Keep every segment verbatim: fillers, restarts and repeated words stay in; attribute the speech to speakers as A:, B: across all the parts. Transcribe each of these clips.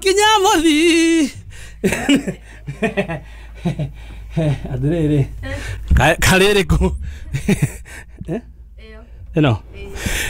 A: Twakinya mothi. Atirĩrĩ, karĩrĩ kũ ĩno?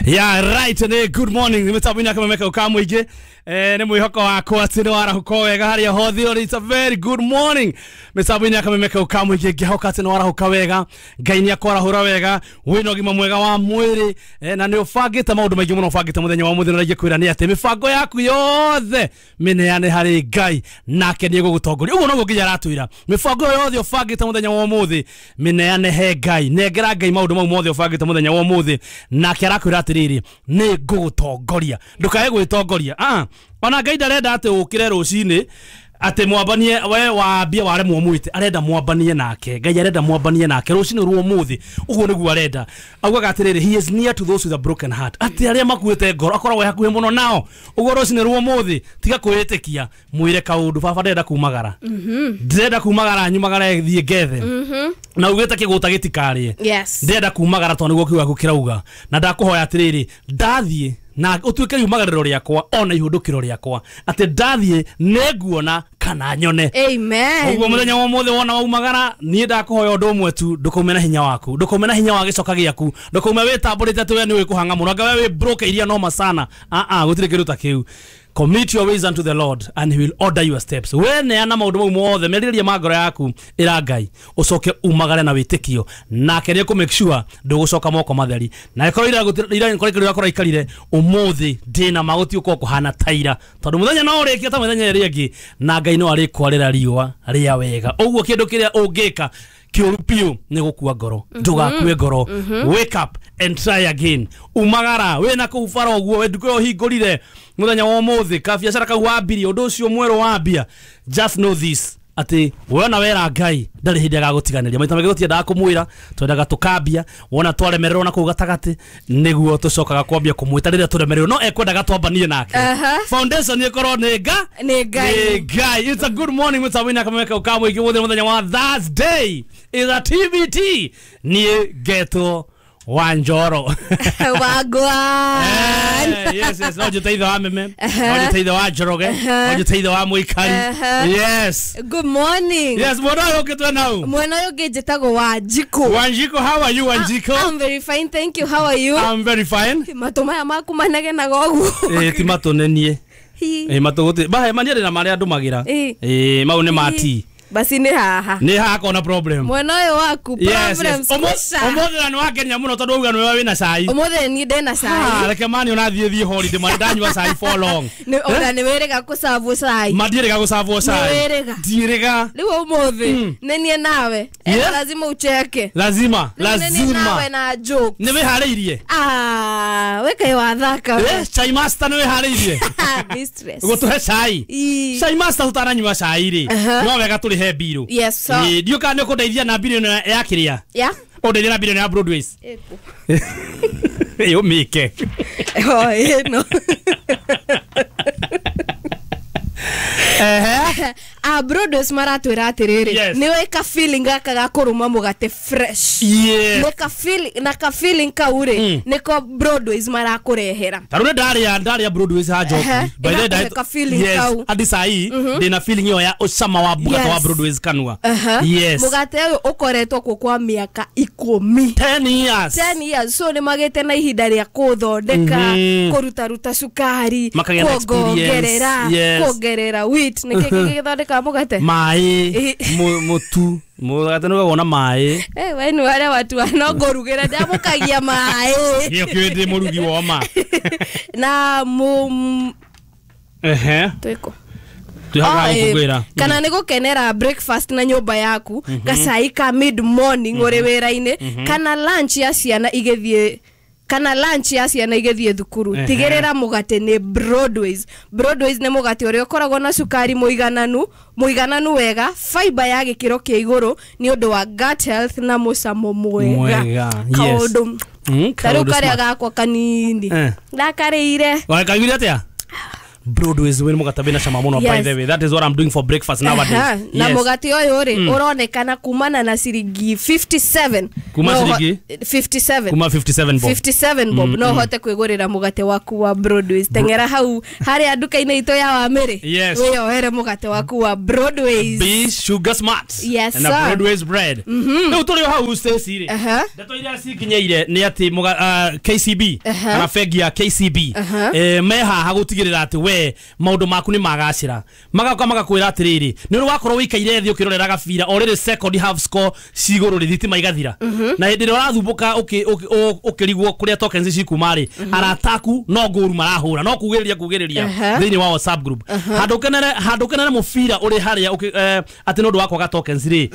A: Yeah, right, nĩ good morning mĩtambo-inĩ ya Kameme kau ka mũingĩ. Eh, nĩ mwĩhoko wakwa atĩ nĩ warahũka wega harĩa hothe ũrĩ. It's a very good morning mĩtambo-inĩ ya Kameme kau ka mũingĩ. Ngĩhoka atĩ nĩ warahũka wega, Ngai nĩ akwarahũra wega, wĩna ũgima mwega wa mwĩrĩ, eh, na nĩ ũbangĩte maũndũ maingĩ mũno ũbangĩte mũthenya wa ũmũthĩ. Na ingĩkwĩra nĩ atĩ mĩbango yaku yothe mĩneane harĩ Ngai, nake nĩ egũgũtongoria. Ũguo noguo nginya aratwĩra, mĩbango yothe ũbangĩte mũthenya wa ũmũthĩ mĩneane he Ngai, nengera Ngai maũndũ mau mothe ũbangĩte mũthenya wa ũmũthĩ, nake arakwĩra atĩrĩrĩ, nĩ ngũgũtongoria. Ndũkae gwĩtongoria. Ah, ona Ngai ndarenda atĩ ũkĩre rũcinĩ atĩ mwambanie we wambie waremwo mwĩte, arenda mwambanie nake. Ngai arenda mwambanie nake rũcinĩ rwa ũmũthĩ, ũguo nĩguo arenda. Augaga atĩrĩrĩ, he is near to those with a broken heart, atĩ arĩa makuĩte ngoro akoragwo e hakuhĩ mũno nao. Ũguo rũcinĩ rwa ũmũthĩ tiga kwĩĩtĩkia, mwĩre kaũndũ, baba ndĩrenda kumagara, ndĩrenda kumagara, nyumagare thiĩ ngethe, na ugĩte kĩgũta gĩtikarĩe.
B: Yes.
A: Ndĩrenda kumagara tondũ nĩguo kiugo gĩaku kĩrauga, na ndakũhoya atĩrĩrĩ, ndathiĩ na ũtuĩke riumagarĩro rĩakwa ona ihũndũkĩro rĩakwa, atĩ ndathiĩ nĩnguona kana nyone.
B: Amen.
A: Ũguo mũthenya wa ũmũthĩ wona waumagara, niĩ ndakũhoya ũndũ ũmwe tu, ndũkaume na hinya waku, ndũkaume na hinya wa gĩcoka gĩaku, ndũkaume wĩtambũrĩte atĩ we nĩ ũĩ kũhang'a mũno, anga we wĩ broke iria noma sana. Ah ah, gũtirĩ kĩndũ ta kĩu. Commit your ways unto the Lord and he will order your steps. We neana maũndũ mau mothe, merirĩria ma ngoro yaku ĩra Ngai, ũcoke umagare na wĩtĩkio, nake nĩ ekũ make sure ndũgũcoka moko matheri. Na ĩkorwo ira ira ĩkorwo ĩkorwo ĩkorwo ikarire ũmũthĩ, ndĩna ma gũtiũkorwo kũhana ta ira, tondũ mũthenya no ũrĩkie ta mĩthenya ĩrĩa ĩngĩ, na Ngai no arĩkwarĩra riũa rĩa wega. Ũguo kĩndũ kĩrĩa ũngĩka kĩũru biũ nĩ gũkua ngoro. Ndũgakue ngoro, wake up and try again. Umagara wĩna kũu bara ũguo, we nduka ĩyo ũhingũrire mũthenya wa ũmũthĩ, kabiacara kau wambirie, ũndũ ũcio mwerũ wambia, just know this, atĩ wona wera Ngai ndarĩ hĩndĩ agagũtiganĩria. Maita maingĩ tũtiendaga kũmwĩra, twendaga tũkambia, wona twaremererwo na kũu gatagatĩ nĩguo tũcokaga kwambia kũmwĩta rĩrĩa tũremererwo, no ekwendaga twambanie nake.
B: Aha.
A: Foundation ĩkorwo nĩ nga
B: Nĩ Ngai.
A: Nĩ Ngai. It's a good morning mĩtambo-inĩ ya Kameme kau ka mũingĩ. Mũthĩ mũthenya wa Thursday is a T B T. Niĩ ngetwo Wanjoro.
B: Wagwan.
A: Eh, yes, yes. No njĩte ithe wa Meme. No njĩte ithe wa Njoroge. No njĩte ithe wa Mũikari. Yes.
B: Good morning.
A: Yes, mwena ũyũ ũngĩ twĩ nau.
B: Mwena ũyũ ũngĩ njĩtagwo Wanjikũ.
A: Wanjikũ, how are you, Wanjikũ?
B: I'm very fine, thank you. How are you?
A: I'm very fine.
B: Matũ maya maku manegenaga ũguo.
A: Eh, ti matũ nĩ niĩ.
B: Hi.
A: Eh, matũ gũtirĩ. Bahe, mani arĩ na marĩa ndũmagĩra.
B: Eh.
A: Eh, mau nĩ ma tea.
B: Basi nĩ haha.
A: Nĩ haha kona problem.
B: Mwena ũyũ waku, problems kwisha.
A: Ũmũthĩ na nĩ wangenia mũno tondũ wauga nĩwe wĩna cai.
B: Ũmũthĩ niĩ ndĩna cai.
A: Ah, reke mani ona thiĩ thiĩ holiday, mani ndanyua cai for long.
B: Nĩ ona nĩ wĩrĩga kũcabwo cai.
A: Ma ndiĩrĩga gũcabwo cai.
B: Nĩ wĩrĩga.
A: Ndiĩrĩga.
B: Rĩu ũmũthĩ nĩ niĩ nawe.
A: Yeah.
B: Lazima ucheke.
A: Lazima,
B: Rĩu nĩ niĩ
A: lazima.
B: nawe na joke.
A: Nĩ wĩharĩirie?
B: Ah, we kaĩ wathaka we.
A: Eh, chai master nĩ wĩharĩirie?
B: Mistress.
A: Gũtũhe cai.
B: Ii.
A: Chai master tũtananyua cai rĩ.
B: Aha.
A: No wega tũrĩhe mbirũ.
B: Yes, sir.
A: Ĩ, ndiũ kana nĩ ũkũndeithia na mbirũ ĩno ya kĩrĩa?
B: Yeah.
A: Ũndeithia na mbirũ ĩno ya Broadways.
B: Ĩkũ.
A: Ĩ, ũmĩke.
B: Oh, ĩno.
A: Ehe.
B: Ah, Broadways maratwĩra atĩrĩrĩ,
A: Yes.
B: nĩ wĩ ka feeling gaka ga kũrũma mũgate fresh.
A: Yes.
B: Nĩ ka feeling, na ka feeling kau rĩ,
A: Mm.
B: nĩko Broadways marakũrehera.
A: Ta rĩu nĩ ndarĩa, ndarĩa Broadways ha Njoki.
B: Ehe.
A: By the way,
B: Ĩgakũhe ka feeling
A: yes,
B: kau.
A: hadi saa hii ndĩna feeling ĩyo ya ũcama wa mũgate wa
B: Yes.
A: Broadways kanua.
B: Aha.
A: Yes.
B: Mũgate ũyũ ũkoretwo kuo kwa mĩaka ikũmi.
A: ten years.
B: ten years. So nĩ magĩte na ihinda rĩa kũthondeka,
A: Mhm.
B: kũrutaruta cukari,
A: Makagĩa na experience.
B: kuongerera,
A: Yes.
B: kuongerera wheat. Nĩ kĩ gĩgĩthondekaga mũgate?
A: Maĩ,
B: Ĩ.
A: mu- mũtu. Mũgate nĩ ũgagwo na maĩ.
B: Eh, we nĩ arĩa watu no ngũrugĩra ndamũkagia maĩ.
A: Gĩo kĩũĩ ndĩ mũrugi wa ma.
B: Na mu
A: Ehe.
B: twĩkũ?
A: Twĩ haha
B: Oh, eh,
A: gũkũngũĩra.
B: kana nĩ gũkenera breakfast na nyũmba yaku, gacai ka mid morning ũrĩ wĩra-inĩ, kana lunch ya ciana igĩthiĩ, kana lunch ya ciana igĩthiĩ thukuru.
A: Ehe.
B: Tigĩrĩra mũgate nĩ Broadways. Broadways nĩ mũgate ũrĩa ũkoragwo na cukari mũigananu, mũigananu wega, fiber ya gĩkĩro kĩa igũrũ nĩ ũndũ wa gut health na mũcamo mwega.
A: Mwega, yes.
B: Kaũndũ
A: Mm,
B: ta rĩu
A: kaũndũ
B: karĩa
A: smart.
B: gakwa kanini
A: Eh.
B: ndakarĩire.
A: Wakaiguire atĩa? Broadways wĩ mũgate wĩna cama mũno.
B: Yes.
A: By the way, that is what I'm doing for breakfast nowadays.
B: Aha, na
A: Yes.
B: mũgate ũyũ rĩ, ũronekana kumana na ciringi mĩrongo ĩtano na mũgwanja.
A: Kuma
B: No ũho-
A: ciringi?
B: mĩrongo ĩtano na mũgwanja.
A: Kuma mĩrongo ĩtano na mũgwanja bob.
B: mĩrongo ĩtano na mũgwanja bob, no ũhote kwĩgũrĩra mũgate waku wa Broadways. Teng'era hau harĩa nduka-inĩ itũ ya Wamĩrĩ,
A: Yes.
B: wĩyoere mũgate waku wa Broadways.
A: Be sugar smart
B: Yes,
A: and a
B: sir.
A: Broadways bread. Rĩu tũrĩ o hau, Stacy rĩ,
B: Aha.
A: ndeto iria cikinyeire nĩ atĩ mũga- ah, K C B
B: Aha.
A: kana bengi ya K C B
B: Aha.
A: eh, me haha gũtigĩrĩra atĩ we maũndũ maku nĩ magacĩra. Magoka magakwĩra atĩrĩrĩ, nĩ ũrĩ wakorwo wĩikaire thĩ ũkĩrorera gabira, o rĩrĩ second half score cigũrũ rĩ, thitima igathira, na hĩndĩ ĩrĩa ũrathumbũka ũkĩ- ũkĩ- ũ- ũkĩrigwo kũrĩa tokens cikuma rĩ, arata aku no ngũru marahũra, no kugĩrĩria kugĩrĩria
B: Aha.
A: thĩinĩ wa WhatsApp group. Handũ ũkenere, handũ ũkenere mũbira ũrĩ harĩa ũkĩ- eh, atĩ nĩ ũndũ wa kwaga tokens rĩ,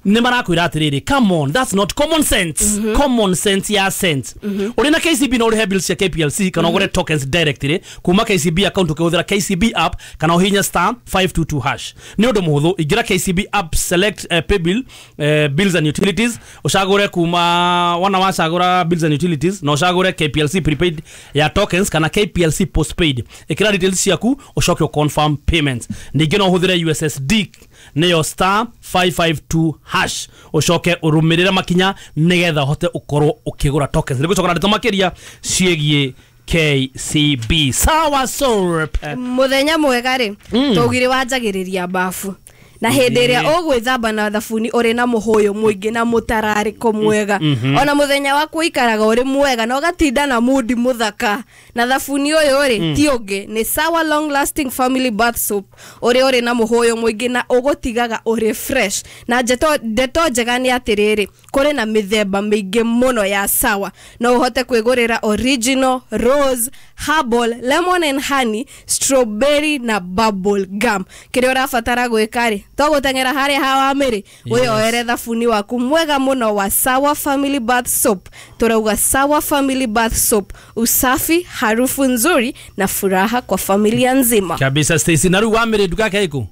A: nĩ marakwĩra atĩrĩrĩ, come on, that's not common sense. Common sense ya sense. Ũrĩ na K C B no ũrĩhe bills cia K P L C kana ũgũre tokens directly kuma K C B account ũkĩhũthĩra K C B app kana ũhihinye star five two two hash. Nĩ ũndũ mũhũthũ. Ingĩra K C B app, select uh, pay bill, uh, bills and utilities, ũcagũre kuma wona wacagũra bills and utilities na ũcagũre K P L C prepaid ya tokens kana K P L C postpaid. Ĩkĩra details ciaku, ũcoke ũconfirm payments. Ningĩ no ũhũthĩre U S S D, nĩyo star five five two hash, ũcoke ũrũmĩrĩre makinya nĩgetha ũhote ũkorwo ũkĩgũra tokens. Nĩ gũcoka na ndeto makĩria ciĩgiĩ K C B. Sawa soap.
B: Muthenya mwega rĩ, tũgire wanjagĩrĩria bafu na hĩndĩ ĩrĩa ũgwĩthamba na thabuni ũrĩ na mũhũyũ mũingĩ na mũtararĩko mwega, ona mũthenya waku ũikaraga ũrĩ mwega na ũgatinda na mundi mũthaka. Na thabuni ũyũ rĩ, ti ũngĩ, nĩ Sawa Long Lasting Family Bath Soap, ũrĩa ũrĩ na mũhũyũ mũingĩ na ũgũtigaga ũrĩ fresh. Na ndeto ndeto njega nĩ atĩrĩrĩ, kũrĩ na mĩthemba mĩingĩ mũno ya Sawa. No ũhote kwĩgũrĩra original, rose, herbal, lemon and honey, strawberry na bubble gum. Kĩrĩa ũrabatara gwĩka rĩ, to gũteng'era harĩa ha Wamĩrĩ, wĩyoere thabuni waku mwega mũno wa Sawa Family Bath Soap. Tũrauga Sawa Family Bath Soap, usafi, harufu nzuri na furaha kwa familia nzima.
A: Kabisa, Stacy. Na rĩu Wamĩrĩ nduka yake ĩkũ?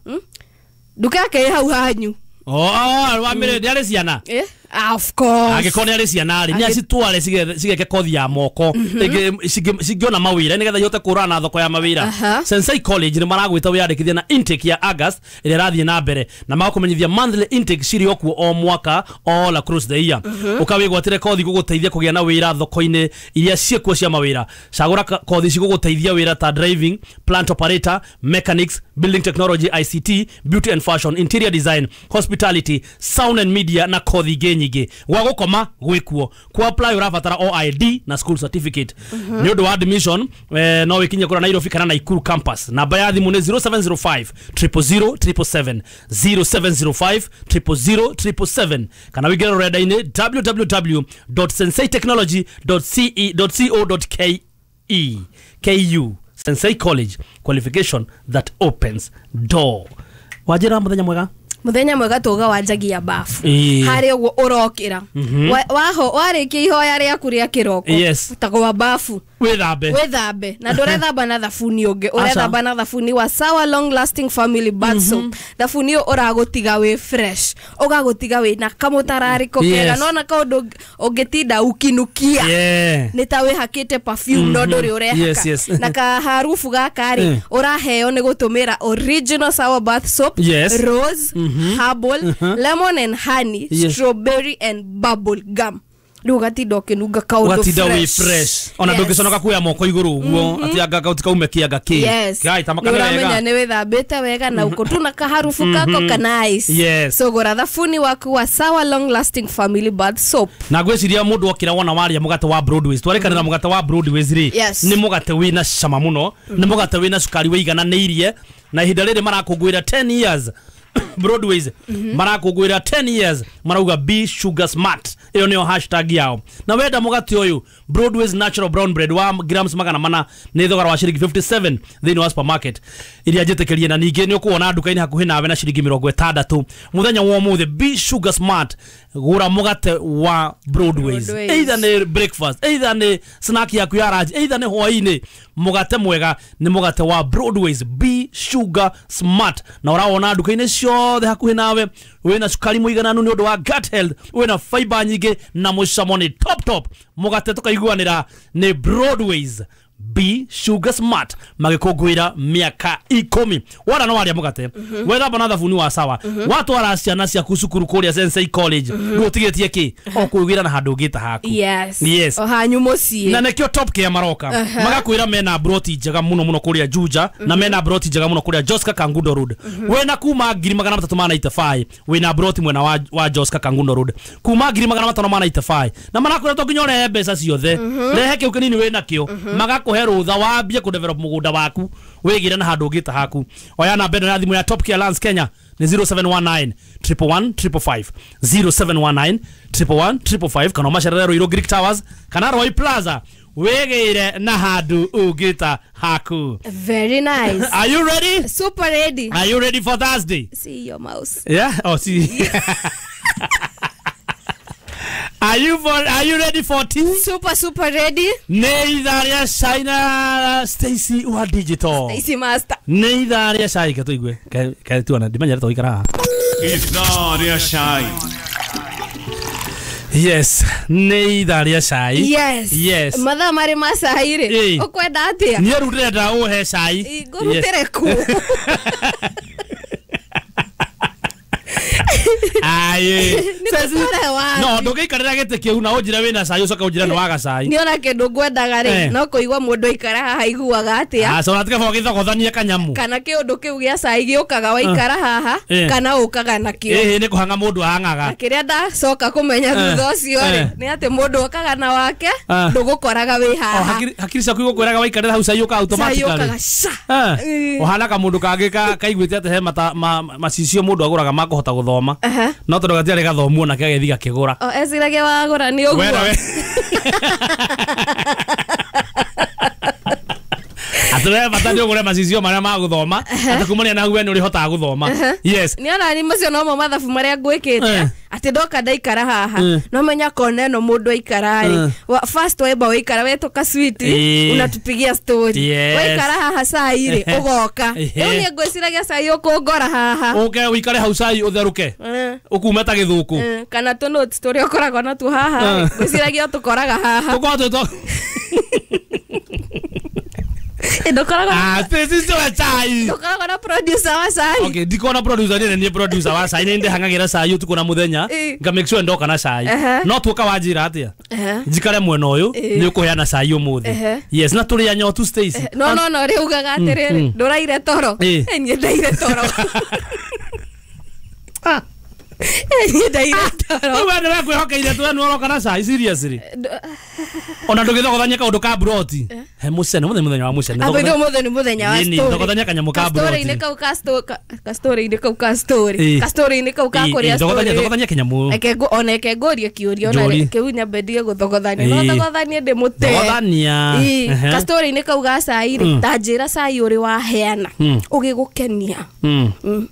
B: Nduka yake ĩ hau hanyu.
A: Oh, Wamĩrĩ nĩ arĩ ciana?
B: Eh? Ah, of course.
A: Angĩkorwo nĩ arĩ ciana rĩ, nĩ
B: Angĩ-
A: acitware cige- cigeke kothi ya moko Ĩngĩ- cingĩ- cingĩona mawĩra nĩgetha ihote kũrana na thoko ya mawĩra.
B: Aha.
A: Sensei College nĩ maragwĩta wĩyandĩkithia na intake ya August ĩrĩa ĩrathiĩ na mbere, na magakũmenyithia monthly intake cirĩ o kuo o mwaka, all across the year. Ũkawĩgwatĩre kothi gũgũteithia kũgĩa na wĩra thoko-inĩ iria ciĩkuo cia mawĩra. Cagũra ka- kothi cigũgũteithia wĩra ta driving, plant operator, mechanics, building technology, I C T, beauty and fashion, interior design, hospitality, sound and media na kothi ingĩ nyingĩ. Gwa gũkoma gwĩkuo. Ku apply ũrabatara o I D na school certificate. Nĩ ũndũ wa admission, eh, no wĩkinye kũrĩa Nairobi kana Naikuru campus. Namba ya thimũ nĩ zero seven zero five zero zero zero seven seven seven, zero seven zero five zero zero zero seven seven seven, kana wĩingĩre rũrenda-inĩ w w w dot senseitechnology dot c e dot co dot k e ku. Sensei College, qualification that opens door. Wanjĩra mũthenya mwega.
B: Muthenya mwega tuga wanjagia bafu.
A: Ĩĩ.
B: Harĩa ũguo ũrokĩra, Wa- waho warĩkia ihoya rĩaku rĩa kĩroko,
A: Yes.
B: tagwa bafu,
A: wĩthambe.
B: Wĩthambe, na ndũrethamba na thabuni ũngĩ, ũrethamba na thabuni wa Sawa Long Lasting Family Bath Soap. Thabuni ũyũ ũragũtiga wĩ fresh, ũgagũtiga wĩ na kamũtararĩko kega.
A: Yes.
B: Nona kaũndũ ũngĩtinda ukinukia
A: Yeah.
B: nĩ ta wĩhakĩte perfume no ndũrĩ ũrehaka.
A: Yes, yes.
B: Na kaharubu gaka rĩ,
A: Mm.
B: ũraheo nĩ gũtũmĩra original Sour Bath Soap,
A: Yes.
B: rose, herbal, lemon and honey,
A: Yes.
B: strawberry and bubble gum. Rĩu ũgatinda ũkĩnunga kaũndũ
A: Ũgatinda wĩ fresh, ona
B: Yes.
A: ndũngĩconoka kuoya moko igũrũ ũguo atĩ anga kaume kĩanga kĩ.
B: Yes.
A: Gai, ta makane
B: Nĩ ũramenya
A: wega.
B: nĩ wĩthambĩte wega na uko tu na kaharubu kako ka nice.
A: Yes.
B: So gũra thabuni waku wa Sawa Long Lasting Family Bath Soap.
A: Na ngwĩciria mũndũ okĩra wona waria mũgate wa Broadways, twarĩkanĩra mũgate wa Broadways rĩ,
B: Yes.
A: nĩ mũgate wĩna cama mũno, nĩ mũgate wĩna cukari wĩigananĩirie. Na ihinda rĩrĩ marakũngũĩra ten years, Broadways marakũngũĩra ten years, marauga "Be sugar smart", ĩyo nĩyo hashtag yao. Na wenda mũgate ũyũ Broadways natural brown bread wa grams magana mana, nĩ thogora wa ciringi mĩrongo ĩtano na mũgwanja thĩinĩ wa supermarket iria njĩtĩkĩrie, na ningĩ nĩ ũkuona nduka-inĩ hakuhĩ nawe na ciringi mĩrongo ĩtandatũ. Mũthenya wa ũmũthĩ, be sugar smart, gũra mũgate wa Broadways.
B: Broadways.
A: Either nĩ breakfast, either nĩ snack yaku ya lunch, either nĩ hwaĩ-inĩ, mũgate mwega nĩ mũgate wa Broadways. Be sugar smart, na ũrawona nduka-inĩ ciothe hakuhĩ nawe. Wĩna cukari mũigananu nĩ ũndũ wa gut health, wĩna fiber nyingĩ na mũcamo nĩ top top. Mũgate tũkaiguanĩra nĩ Broadways. B Sugar Smart magikũngũĩra mĩaka ikũmi. Wona no waria mũgate, wethamba na thabuni wa sawa, watwara ciana ciaku cukuru kũrĩa Sensei College, rĩu ũtigĩtie kĩ o kwĩgĩra na handũ ũngĩta haku.
B: Yes.
A: Yes.
B: O hanyu mũciĩ.
A: Na nĩkĩo Top Care maroka magakwĩra mena broti njega mũno mũno kũrĩa Juja, na mena broti njega mũno kũrĩa Joska Kangundo Road. Wena kuma ngiri magana matatũ ma ninety five wĩna broti mwena wa, wa Joska Kangundo Road kuma ngiri magana matano ma ninety five, na marakwĩra to nginya ũrehe mbeca ciothe, rehe kĩu kĩnini wĩna kĩo, magakũhe rũtha wambie kũ develop mũgũnda waku wĩgĩre na handũ ũngĩta haku. Oya namba ĩno ya thimũ ya Top Care Lands Kenya ni zero seven one nine triple one triple five, zero seven one nine triple one triple five, kana macerere Ruiru Greek Towers kana Roy Plaza wĩgĩire na handũ ũngĩta haku.
B: Very nice.
A: Are you ready?
B: Super ready.
A: Are you ready for Thursday?
B: See your mouse.
A: Yeah? Oh, see. Are you for, are you ready for tea?
B: Super super ready.
A: Nĩ ithaa rĩa China Stacy wa digital.
B: Stacy master.
A: Nĩ ithaa rĩa cai ke tũigue. Ke ke tuona ndimenyere tũgĩikara haha.
C: Ithaa rĩa cai.
A: Yes, nĩ ithaa rĩa cai.
B: Yes.
A: Yes.
B: Mathaa marĩ ma cai rĩ. Ũkwenda atĩa?
A: Niĩ rĩu ndĩrenda ũhe cai.
B: Ngũrutĩre kũ?
A: Aye. No, ndũngĩikarĩra gĩtĩ kĩu na ũnjĩre wĩna cai ũcoke ũnjĩre nĩ waga cai.
B: Nĩ ona kĩndũ ngwendaga rĩ, no kũigua mũndũ aikara haha aiguaga atĩa.
A: Aca ũratiga baba ũgĩthogothanie kanyamu.
B: Kana kĩũndũ kĩu gĩa cai gĩũkaga waikara haha kana ũkaga nakĩo.
A: Ĩĩ nĩ kũhang'a mũndũ ahang'aga.
B: Na kĩrĩa ndacoka kũmenya thutha ũcio rĩ, nĩ atĩ mũndũ okaga na wake ndũgũkoraga wĩ haha.
A: Hakiri ciaku igũkwĩraga waikarĩra hau cai ũkaga automatically.
B: Cai ũkaga ca.
A: Ũhana kamũndũ kangĩ kaiguĩte atĩ he macicio mũndũ agũraga ma kũhota gũthoma. No tondũ gatiarĩ gathomu onake agĩthiĩ gakĩgũra.
B: O eciragia wagũra nĩ ũguo.
A: Atĩ we bata nĩ ũgũre macicio marĩa ma gũthoma, atĩ kumania na we nĩ ũrĩhotaga gũthoma. Yes.
B: Nĩ ona ni macio nomo mathabu marĩa ngwĩkĩte atĩ ndoka ndaikara haha no menya kona ĩno mũndũ aikara rĩ, first wemba waikara wetũka sweet unatupigia story, waikara haha cai rĩ ũgoka. Rĩu niĩ ngwĩciragia cai ũkũngora haha
A: ũke ũikare hau cai ũtherũke ũkume ta gĩthũkũ
B: kana tũ notes tũrĩa ũkoragwo natuo haha ngwĩciragia tũkoraga haha
A: tũkoragwo twĩ
B: Ndokoraga.
A: Ah, this wa cai.
B: Ndokoraga na producer wa cai.
A: Okay, ndikona producer ni ni producer wa cai ni ndihang'agira cai utuku na muthenya nga make sure ndoka na cai. No tuoka wanjira atia. Njikare mwena uyu ni ukuheana cai umuthi. Yes, na turi anyotu Stacy.
B: No no no riugaga atiriri nduraire toro. Ni ndaire toro.
A: Ah.
B: Ni ndaire toro.
A: Wewe nĩ wekwihokeire tu nĩ ũroka na cai seriously. Ona ndũgĩthogothania kaũndũ ka broti. He mũcene mũthenya mũthenya wa mũcene.
B: Abo ithuĩ mũthenya mũthenya wa story.
A: Thogothania kanyamũ ka broti.
B: Story-inĩ kau ka story ka story-inĩ kau ka story. Ka story-inĩ kau ka kũrĩa story.
A: Thogothania kanyamũ.
B: Reke ona reke ngũrie kĩũria ona kĩu nyambe ndige gũthogothania. No thogothanie ndĩmũte.
A: Thogothania.
B: Ka story-inĩ kau ga cai rĩ, ta njĩra cai ũrĩ waheana ũgĩgũkenia.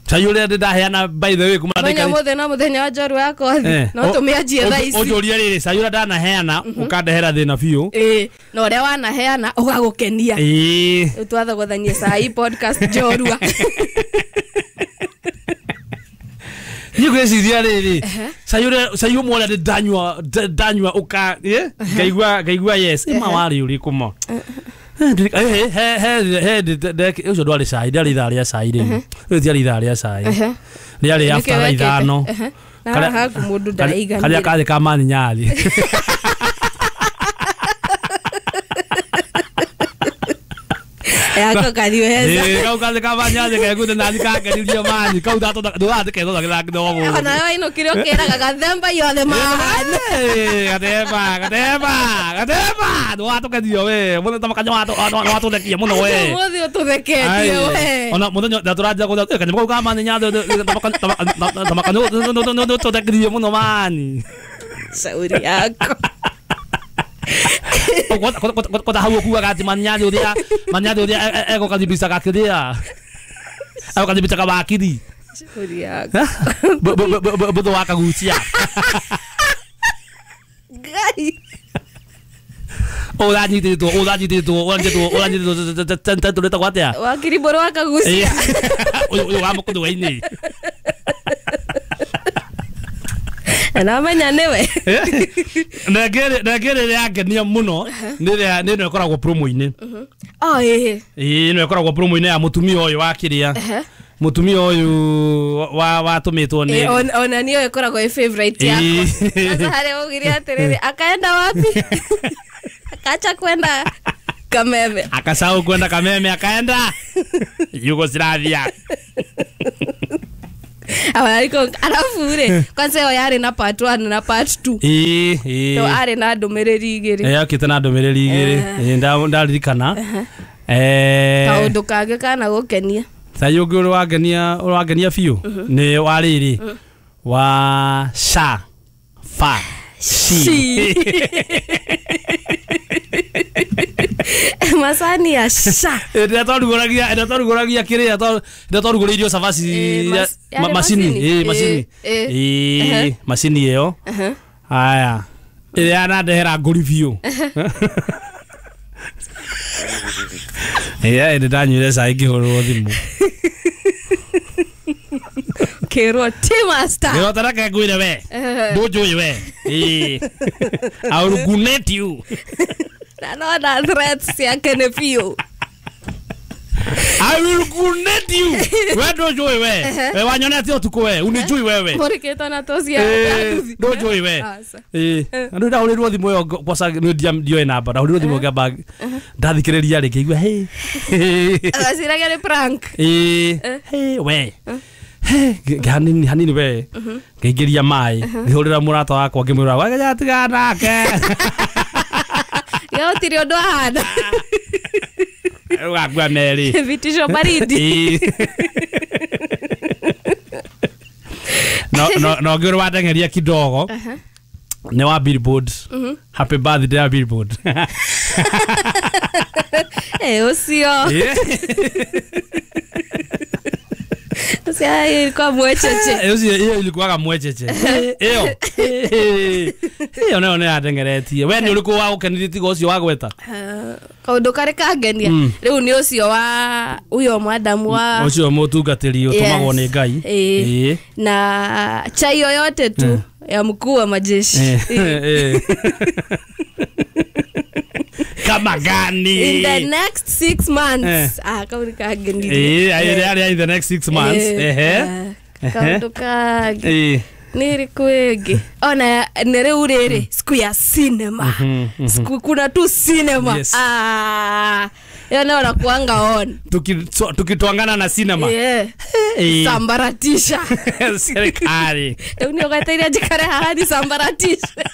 A: Cai ũrĩa ndaheana by the way kuma
B: ndĩka. Mũthenya mũthenya wa njorua ya kothi. No tũmĩanjie thaa ici.
A: Ũnjũrie rĩrĩ cai ũrĩa ndanaheana ũkandehera thĩna biũ.
B: Ĩĩ, na ũrĩa wanaheana ũgagũkenia.
A: Ĩĩ.
B: Rĩu twathogothanie cai podcast njorua.
A: Niĩ ngwĩciria rĩrĩ cai ũrĩa cai ũmwe ũrĩa ndanyua ndanyua ũka ngaigua ngaigua yes ĩma warĩ ũrĩkũ ma. He he he he ũcio ndwarĩ cai ndĩarĩ ithaa rĩa cai rĩu. Rĩu tiarĩ ithaa rĩa cai. Rĩarĩ after thaa ithano.
B: Na haha mũndũ ndaraiganĩra.
A: Karĩa karĩ ka mani nyathi.
B: Yako kathiĩ heza.
A: Ĩĩ kau kathĩ ka mani nyathi kegũte nathi kangeririe mani kau ndũgathĩ kethothagĩra kidogo.
B: Ona wainũkire ũkĩraga gathemba yothe mahana.
A: Gathemba gathemba gathemba ndũgatũkenio we mũthenya tamakanya watũthekia mũno we.
B: Ũmũthĩ ũtũtheketie we.
A: Ona mũthenya ndatũranjia gũtheka kanyamũ kau ka mani nyathi tamakanya ũtũthekirie mũno mani.
B: Shauri yako.
A: Kota hau ũkuaga atĩ manyathi ũrĩa manyathi ũrĩa egũkathibisa gakĩrĩa egũkathibisa kawakiri.
B: Shauri yako.
A: Bũthũ wa kagucia.
B: Ngai.
A: Ũranyitĩtwo ũranyitĩtwo ũranyitĩtwo ũranyitĩtwo tũrĩtagwo atĩa?
B: Wakiri mbũrũ wa kagucia.
A: Ũyũ wa mũkũthũa-inĩ.
B: Na menya nĩwe.
A: Na ngĩrĩ rĩa ngenia mũno nĩ rĩa nĩ ĩno ĩkoragwo promo-inĩ.
B: Oh ĩĩ.
A: Ĩĩ no ĩkoragwo promo-inĩ ya mũtumia ũyũ wa kĩrĩa. Mũtumia ũyũ wa watũmĩtwo nĩ
B: ona niyo ĩkoragwo ĩ favorite yakwa. Sasa harĩa ugire atĩrĩrĩ akaenda wapi? Akacha kwenda Kameme.
A: Akasahau kwenda Kameme akaenda Yugoslavia.
B: Awariko alafu ure kwanza yo yari na part one na part two.
A: Ĩĩ ĩĩ.
B: To arĩ na ndũmĩrĩri igĩrĩ.
A: Eh okĩte na ndũmĩrĩri igĩrĩ. Ĩĩ ndaririkana. Eh
B: kaũndũ kangĩ kana gũkenia.
A: Sai ũngĩ ũrĩa wangenia ũrĩa wangenia biũ nĩ wa rĩrĩ wa sha fa shi.
B: Macani ya sha.
A: Ĩrĩa twarugũragia ĩrĩa twarugũragia kĩrĩa ĩrĩa twarugũrĩirio cabaci macini ĩĩ macini ĩĩ macini ĩyo. Haya ĩrĩa yanandehera ngũri biũ. Ĩĩ ĩndĩ ndanyuire cai ngĩhũrĩrwo thimũ.
B: Kĩrwo ti master.
A: Ngĩrwo tareke ngwĩre we. Ndũnjũĩ we. Ĩĩ. I will gunate you.
B: Na no na threats ciake nĩ biũ.
A: I will gunate you. We ndũnjũĩ we. We wanyonete ũtukũ we. Unijui wewe.
B: Mũrĩkĩtwo na tũcia.
A: Ndũnjũĩ we. Ĩĩ. Andũ ndahũrĩrwo thimũ ĩyo kwaca ndioĩ namba. Ndahũrĩrwo thimũ ngĩamba ndathikĩrĩria rĩ ngĩigua hey.
B: Agaciragia nĩ prank.
A: Ĩĩ. Hey we. Hanini hanini we. Ngĩingĩria maĩ. Ngĩhũrĩra mũrata wakwa ngĩmwĩra wagaja tigana nake.
B: Yo tiri ũndũ ahana.
A: Ũgakua merĩ.
B: Vitisho baridi.
A: No no no ngĩũrĩ wateng'eria kidogo. Nĩ wa Billboard. Happy birthday ya Billboard.
B: Eh ũcio. Ũcio ilikuwa mwecheche.
A: Ũcio iyo ilikuwaga mwecheche. Iyo. Iyo nayo nĩ yateng'eretie. We nĩ ũrĩkũ wa gũkenirie tiga ũcio wa gweta?
B: Kaũndũ karĩ kangenia rĩu nĩ ũcio wa ũyũ mwadamu wa
A: ũcio mũtungatĩri ũtũmagwo nĩ Ngai.
B: Ĩĩ. Na chai yoyote tu ya mkuu wa majeshi.
A: Kama gani?
B: In the next six months. Ah, kaũndũ kangenirie.
A: Ĩĩ, arĩa in the next six months. Ehe.
B: Kaũndũ kangĩ. Nĩ rĩkũ ĩngĩ? Ona nĩ rĩu rĩrĩ siku ya cinema. Siku kuna tu cinema.
A: Yes.
B: Ah, ĩyo nĩyo nakuanga on.
A: Tukitwangana na cinema.
B: Yeah. Sambaratisha.
A: Serikali.
B: Rĩu nĩ ũgweteire njikare haha nisambaratishe.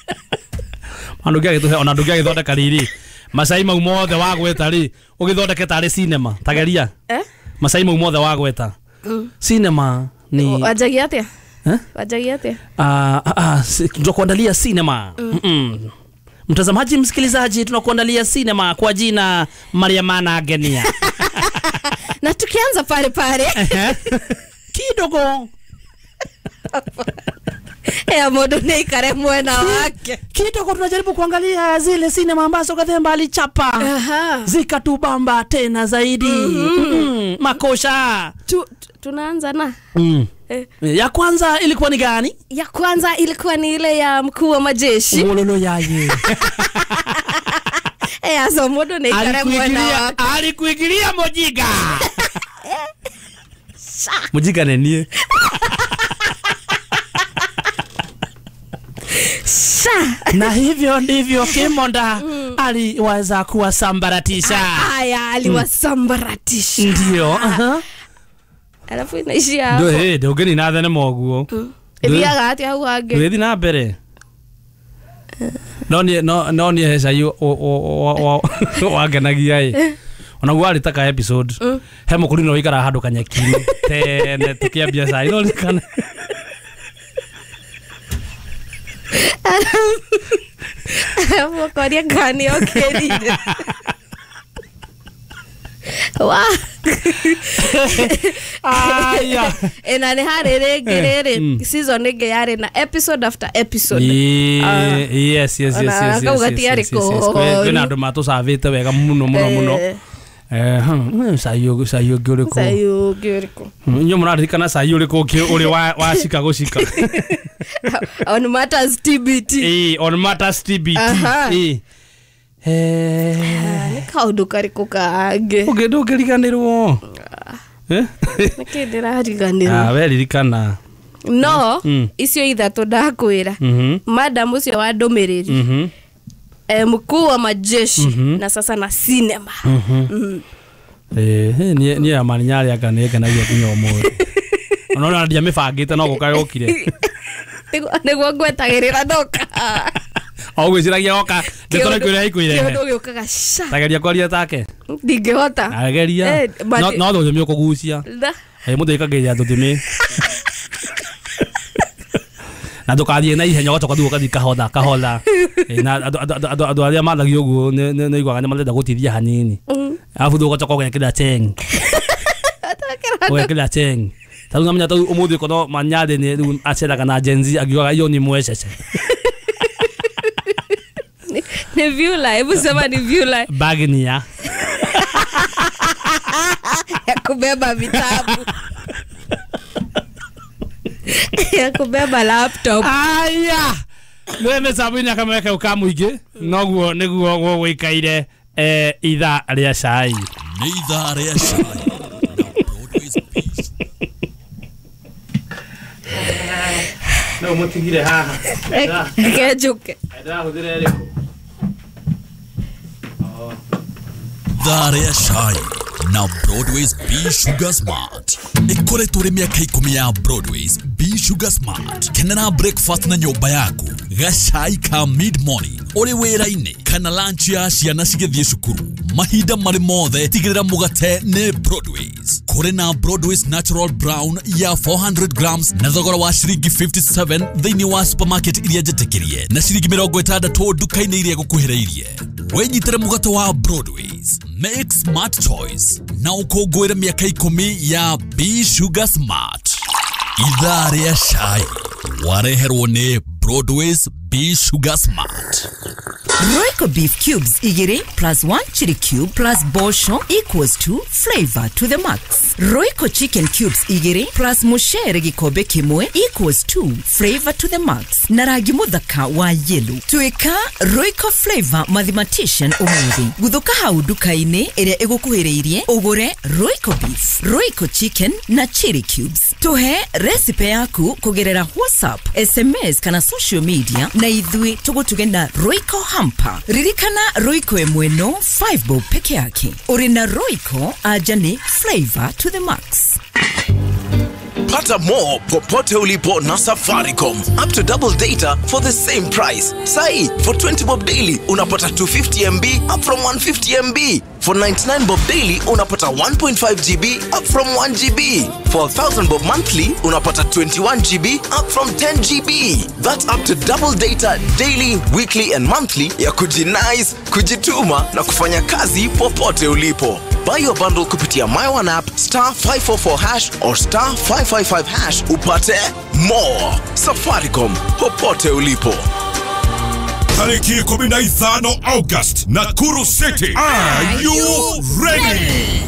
A: Ona ndũngĩagĩtũhe ona ndũngĩagĩthondeka rĩrĩ. Macai mau mothe wagweta rĩ ũgĩthondeke tarĩ cinema tageria.
B: Eh?
A: Macai mau mothe wagweta. Cinema ni
B: wanjagia atĩa? Wanjagia atĩa?
A: Ah ah tunakuandalia cinema. Mm. Mtazamaji msikilizaji tunakuandalia cinema kwa jina Mariamana Agenia.
B: Na tukianza pale pale.
A: Kidogo.
B: Ya mũndũ nĩ aikare mwena wake.
A: Kidogo tunajaribu kuangalia zile sinema ambazo Gathemba alichapa. Zikatubamba tena zaidi.
B: Mm -hmm.
A: Mm, makosha.
B: Tu, tunaanza na
A: mm.
B: Eh.
A: Ya kwanza ilikuwa ni gani?
B: Ya kwanza ilikuwa ni ile ya mkuu wa majeshi.
A: Wololo yaye.
B: Eh, aso mũndũ nĩ aikare mwena wake.
A: Alikuingilia mojiga. Mojiga nĩ niĩ. Na hivyo ndivyo Kimonda mm. aliweza kuwasambaratisha.
B: Haya, aliwasambaratisha.
A: Ndio. Uh-huh.
B: Alafu inaishia hapo.
A: Ndio, eh, ndio gani na thene moguo.
B: Ithiaga atia hau hangĩ.
A: Ndũgĩthiĩ na mbere. No ni no no ni heca yu wangenagia ĩ. Ona guo arĩ taka episode. He mũkũrinũ wĩikaraga handũ kanyeki-inĩ tene tũkĩambia cai no ririkana.
B: Alafu ũkoria kana nĩ okĩrire. Wa.
A: Aya.
B: Ena nĩ harĩ rĩngĩ rĩrĩ season ĩngĩ yarĩ na episode after episode.
A: Yes, yes, yes, yes.
B: Kau gatiarĩ
A: Kwĩna andũ matũcavĩte wega mũno mũno mũno. Eh, cai ũngĩ cai ũngĩ ũrĩkũ?
B: Cai ũngĩ ũrĩkũ?
A: Inyuĩ mũraririkana cai ũrĩkũ ũngĩ ũrĩ wa wa cika gũcika?
B: On matters T B T.
A: Eh, on matters T B T. Eh. Eh
B: Nĩ kaũndũ karĩkũ kangĩ?
A: Ũngĩ ndũngĩriganĩrwo. Eh?
B: Nĩkĩ ndĩrariganĩrwo?
A: Ah, we ririkana.
B: No
A: Mm.
B: icio ithatũ ndakwĩra.
A: Mhm.
B: Madam ũcio wa ndũmĩrĩri.
A: Mhm.
B: Eh, mkuu wa majeshi na sasa na cinema. Mm.
A: Eh, niĩ niĩ amani nyarĩ anga nĩ ngenagia nginya ũmũthĩ. Ona ona ndiamĩbangĩte no gũka yokire.
B: Nĩguo nĩguo ngwetagĩrĩra ndoka.
A: O gwĩciragia oka ndeto nĩ kwĩrehe ikwĩrehe.
B: Kĩũndũ gĩũkaga ca.
A: Tageria kwaria take.
B: Ndingĩhota.
A: Ageria.
B: Eh, but-
A: No no rũthiomi ũkũgucia.
B: Da.
A: Eh, mũndũ aikagĩria rũthiomi. Na ndũkathiĩ na ihenya ũgacoka rĩu ũgathiĩ kahora kahora. Eh, na andũ andũ andũ andũ arĩa mathagia ũguo nĩ nĩ nĩiguaga nĩ marenda gũtithia hanini. Arabu rĩu ũgacoka ũgekĩra cheng. Ũgekĩra cheng. Ta rĩu namenya ta rĩu ũmũthĩ korwo Manyarĩ nĩ rĩu aceraga na Gen Z angiugaga iyo ni mwecece.
B: Ni vyula, hebu sema ni vyula
A: Bagnia.
B: ya kubeba vitabu. Ya kubeba laptop.
A: Aya. Nĩ mĩtambo-inĩ akamweka ũkamũingĩ noguo nĩguo gũgũikaire eh, ithaa rĩa cai.
D: Nĩ ithaa rĩa cai na Broadways Peace.
A: No mũtigire haha.
B: Reke njũke.
A: Ndĩrahũthĩra ĩrĩkũ?
D: Ithaa rĩa cai na Broadways B Sugar Smart. Ĩkoretwo rĩ mĩaka ikũmi ya Broadways B Sugar Smart. Kenera breakfast na nyũmba yaku, gacai ka mid morning ũrĩ wĩra-inĩ kana lunch ya ciana cigĩthiĩ cukuru. Mahinda marĩ mothe tigĩrĩra mũgate nĩ Broadways. Kũrĩ na Broadways Natural Brown ya four hundred grams na thogora wa ciringi fifty-seven thĩinĩ wa supermarket iria njĩtĩkĩrie na ciringi mĩrongo ĩtandatũ nduka-inĩ iria gũkuhĩrĩirie. Wĩnyitĩre mũgate wa Broadways. Make smart choice na ũkũngũĩre mĩaka ikũmi ya B Sugar Smart. Ithaa rĩa cai wareherwo nĩ Broadways B Sugar Smart.
E: Royco beef cubes igiri plus one chili cube plus bosho equals to flavor to the max. Royco chicken cubes igiri plus mushere gikombe kimwe equals to flavor to the max. Na rangi muthaka wa yellow. Tuika Royco flavor mathematician umuthi. Guthuka hau nduka-inĩ ĩrĩa ĩgũkuhĩrĩirie ũgũre Royco beef, Royco chicken na chili cubes. Tuhe recipe yaku kũgerera WhatsApp, S M S kana social media na ithuĩ tũgũtuge na Royco hamper. Ririkana Royco ĩmwe no five bob peke yake. Ũrĩ na Royco aja ni flavor to the max.
F: Pata more popote ulipo na Safaricom. Up to double data for the same price. Sai, for twenty bob daily unapata two fifty M B up from one fifty M B. For ninety-nine bob daily unapata one point five G B up from one G B. For one thousand bob monthly unapata twenty-one G B up from ten G B. That's up to double data daily, weekly and monthly ya kujinice, kujituma na kufanya kazi popote ulipo. Buy your bundle kupitia My One app, star five four four hash or star five five five hash upate more. Safaricom, popote ulipo.
C: Tariki kumi na ithano August, Nakuru City. Are you ready?